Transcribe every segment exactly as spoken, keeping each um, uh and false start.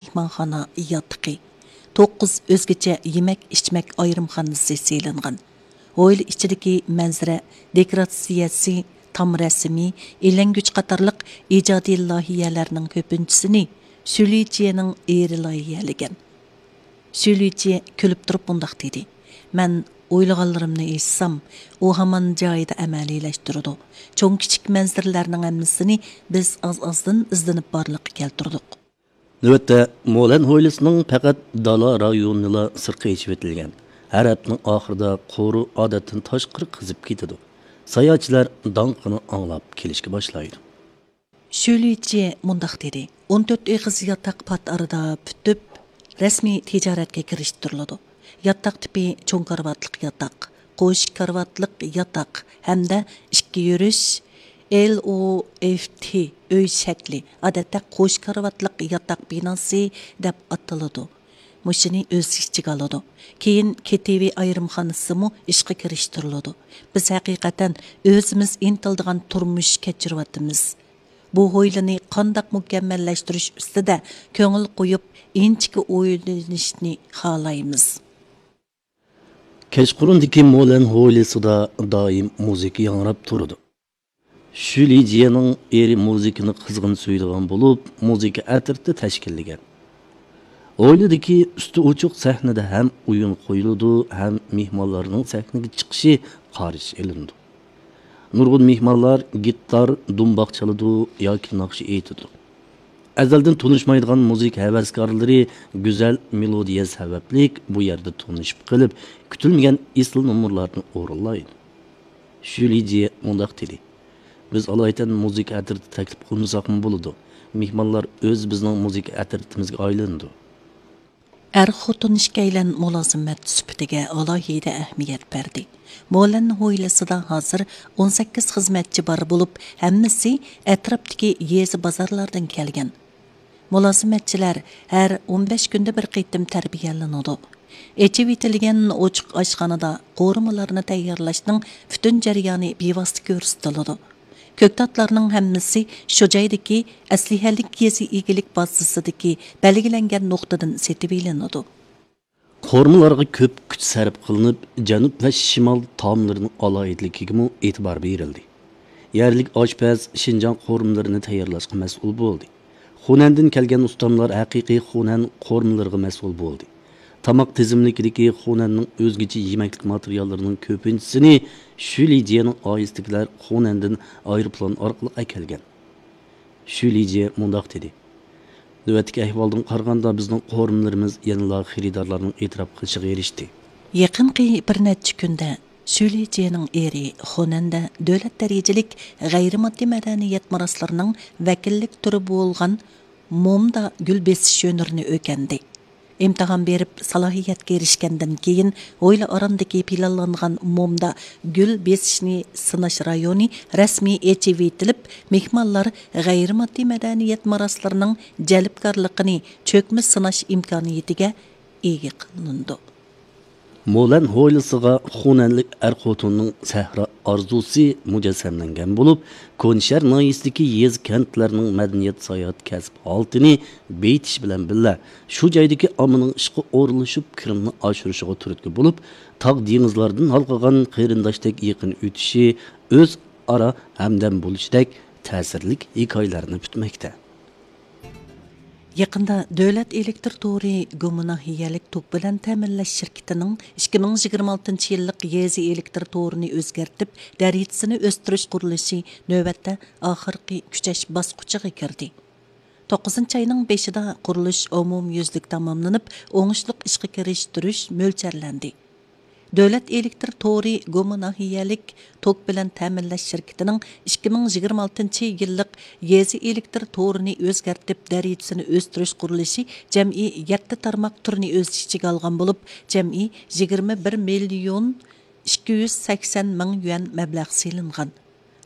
مېھمانخانا ياتىقى، توققۇز ئۆزگىچە يېمەك-ئىچمەك ئايرىمخانىسى سېلىنغان. ھويلا ئىچىدىكى مەنزىرە دېكوراتسىيەسى، تام رەسىمى، ئىلەڭگۈچ قاتارلىق ئىجادىي لايىھەلەرنىڭ كۆپىنچىسىنى شۈلىجيېنىڭ ئېرى لايىھەلىگەن. شۈلىجيې كۈلۈپ تۇرۇپ مۇنداق دېدى: «مەن ئويلىغانلىرىمنى ئېيتسام، ئۇ ھامان جايىدا ئەمەلىيلەشتۈرىدۇ. چوڭ-كىچىك مەنزىرىلەرنىڭ ھەممىسىنى بىز ئاز-ئازدىن ئىزدىنىپ بارلىققا كەلتۈردۇق.» نۆۋەتتە مولەن ھويلىسىنىڭ پەقەت دالا رايونىلا سىرتقا ئېچىۋېتىلگەن. ھەر ھەپتىنىڭ ئاخىرىدا قورۇ ئادەتتىن تاشقىرى قىزىپ كېتىدۇ. ساياھەتچىلەر داڭقىنى ئاڭلاپ كېلىشكە باشلايدۇ. شۈلىجيې مۇنداق دېدى: «ئون تۆت ئېغىز ياتاق پات ئارىدا پۈتۈپ، رەسمىي تىجارەتكە كىرىشتۈرۈلىدۇ. ياتاق تىپى چوڭ كارىۋاتلىق ياتاق، قوش كارىۋاتلىق ياتاق ھەمدە ئىككى يۈرۈش، ئېل ئو ئېف تى، ئۆي شەكلى، ئادەتتە قوش كارىۋاتلىق ياتاق بىناسى دەپ ئاتىلىدۇ. مۇشۇنى ئۆز ئىچىگە ئالىدۇ. كېيىن كېتىۋى ئايرىمخانىسىمۇ ئىشقا كىرىشتۈرۈلىدۇ. بىز ھەقىقەتەن ئۆزىمىز ئىنتىلىدىغان تۇرمۇش كەچۈرۈۋاتىمىز. بۇ ھويلىنى قانداق مۇكەممەللەشتۈرۈش ئۈستىدە كۆڭۈل قويۇپ، ئىنچىكە ئويلىنىشنى خالايمىز.» كەچقۇرۇندىكى مولەن ھويلىسىدا دائىم مۇزىكا ياڭراپ تۇرىدۇ. شۈلىجيېنىڭ ئېرى مۇزىكىنى قىزغىن سۆيىدىغان بولۇپ، مۇزىكا ئەترىتى تەشكىللىگەن. ھويلىدىكى ئۈستى ئوچۇق سەھنىدە ھەم ئويۇن قويۇلىدۇ، ھەم مېھمانلارنىڭ سەھنىگە چىقىشى قارشى ئېلىنىدۇ. نۇرغۇن مېھمانلار گىتار، دۇمباق چالىدۇ ياكى ناخشا ئېيتىدۇ. ئەزەلدىن تونۇشمايدىغان مۇزىكا ھەۋەسكارلىرى گۈزەل مېلودىيە سەۋەبلىك بۇ يەردە تونۇشۇپ قېلىپ، كۈتۈلمىگەن ئېسىل نومۇرلارنى ئورۇنلايدۇ. شۈلىجيې مۇنداق دېدى: «بىز ئالايىتەن مۇزىكا ئەترىتى تەكلىپ قىلمىساقمۇ بولىدۇ. مېھمانلار ئۆزى بىزنىڭ مۇزىكا ئەترىتىمىزگە ئايلىنىدۇ.» ئەر-خوتۇن ئىككىيلەن مۇلازىمەت سۈپىتىگە ئالاھىدە ئەھمىيەت بەردى. مولەن ھويلىسىدا ھازىر ئون سەككىز خىزمەتچى بار بولۇپ، ھەممىسى ئەتراپتىكى يېزا بازارلاردىن كەلگەن. مۇلازىمەتچىلەر ھەر ئون بەش كۈندە بىر قېتىم تەربىيەلىنىدۇ. ئېچىۋېتىلگەن ئوچۇق ئاشخانىدا قورۇمىلارنى تەييارلاشنىڭ پۈتۈن جەريانى بىۋاسىتە كۆرسىتىلىدۇ. كۆكتاتلارنىڭ ھەممىسى شۇ جايدىكى ئەسلىھەلىك يېزا ئىگىلىك بازىسىدىكى بەلگىلەنگەن نۇقتىدىن سېتىۋېلىنىدۇ. قورۇمىلارغا كۆپ كۈچ سەرپ قىلىنىپ، جەنۇب ۋە شىمال تائاملىرىنىڭ ئالاھىدىلىكىگىمۇ ئېتىبار بېرىلدى. يەرلىك ئاشپەز شىنجاڭ قورۇمىلىرىنى تەييارلاشقا مەسئۇل بولدى. خۇنەندىن كەلگەن ئۇستاملار ھەقىقىي خۇنەن قورۇمىلىرىغا مەسئۇل بولدى. تاماق تىزىملىكىدىكى خۇنەننىڭ ئۆزگىچە يېمەكلىك ماتېرىياللىرىنىڭ كۆپىنچىسىنى شۈلىجيېنىڭ ئائىلىسىدىكىلەر خۇنەندىن ئايروپىلان ئارقىلىق ئەكەلگەن. شۈلىجيې مۇنداق دېدى: «نۆۋەتتىكى ئەھۋالدىن قارىغاندا، بىزنىڭ قورۇمىلىرىمىز يەنىلا خېرىدارلارنىڭ ئېتىراپ قىلىشىغا ئېرىشتى.» يېقىنقى بىر نەچچە كۈندە شۈلىجيېنىڭ ئېرى خۇنەندە دۆلەت دەرىجىلىك غەيرىي ماددىي مەدەنىيەت مىراسلىرىنىڭ ۋەكىللىك تۈرى بولغان مومدا گۈل بېسىش ھۈنىرىنى ئۆگەندى. ئىمتىھان بېرىپ، سالاھىيەتكە ئېرىشكەندىن كېيىن، ھويلا ئارامدىكى پىلانلانغان مومدا گۈل بېسىشنى سىناش رايونى رەسمىي ئېچىۋېتىلىپ، مېھمانلار غەيرىي ماددىي مەدەنىيەت مىراسلىرىنىڭ جەلپكارلىقىنى چۆكمە سىناش ئىمكانىيىتىگە ئىگە قىلىنىدۇ. مولەن ھويلىسىغا خۇنەنلىك ئەر-خوتۇننىڭ سەھرا ئارزۇسى مۇجەسسەملەنگەن بولۇپ، كونىشەھەر ناھىيەسىدىكى يېزا-كەنتلەرنىڭ مەدەنىيەت ساياھەت كەسىپ ھالىتىنى بېيىتىش بىلەن بىللە، شۇ جايدىكى ئاممىنىڭ ئىشقا ئورۇنلىشىپ، كىرىمىنى ئاشۇرۇشىغا تۈرتكە بولۇپ، تاغ دېڭىزلاردىن ھالقىغان قېرىنداشتەك يېقىن ئۆتۈشى، ئۆزئارا ھەمدەم بولۇشىدەك تەسىرلىك ھېكايىلەرنى پۈتمەكتە. يېقىندا دۆلەت ئېلېكتىر تورى گۇما ناھىيەلىك توك بىلەن تەمىنلەش شىركىتىنىڭ ئىككى مىڭ يىگىرمە ئالتىنچى يىللىق يېزا ئېلېكتىر تورىنى ئۆزگەرتىپ، دەرىجىسىنى ئۆستۈرۈش قۇرۇلۇشى نۆۋەتتە ئاخىرقى كۈچەش باسقۇچىغا كىردى. توققۇزىنچى ئاينىڭ بېشىدا قۇرۇلۇش ئومۇميۈزلۈك تاماملىنىپ، ئوڭۇشلۇق ئىشقا كىرىشتۈرۈش مۆلچەرلەندى. دۆلەت ئېلېكتىر تورى گۇما ناھىيەلىك توك بىلەن تەمىنلەش شىركىتىنىڭ ئىككى مىڭ يىگىرمە ئالتىنچى يىللىق يېزا ئېلېكتىر تورىنى ئۆزگەرتىپ، دەرىجىسىنى ئۆستۈرۈش قۇرۇلۇشى جەمئىي يەتتە تارماق تۈرنى ئۆز ئىچىگە ئالغان بولۇپ، جەمئىي يىگىرمە بىر مىليون ئىككى يۈز سەكسەن مىڭ يۈەن مەبلەغ سېلىنغان.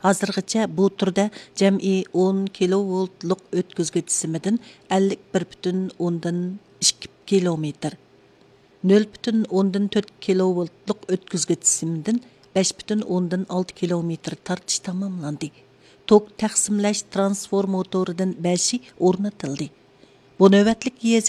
ھازىرغىچە بۇ تۈردە جەمئىي ئون كىلوۋولتلۇق ئۆتكۈزگۈچ سىمىدىن ئەللىك بىر پۈتۈن ئوندىن ئىككى كىلومېتىر، نۆل پۈتۈن ئوندىن تۆت كىلوۋولتلۇق ئۆتكۈزگۈچ سىمىدىن بەش پۈتۈن ئوندىن ئالتە كىلومېتىر تارتىش تاماملاندى. توك تەقسىملەش ترانسفورماتورىدىن بەشى ئورنىتىلدى. بۇ نۆۋەتلىك يېزا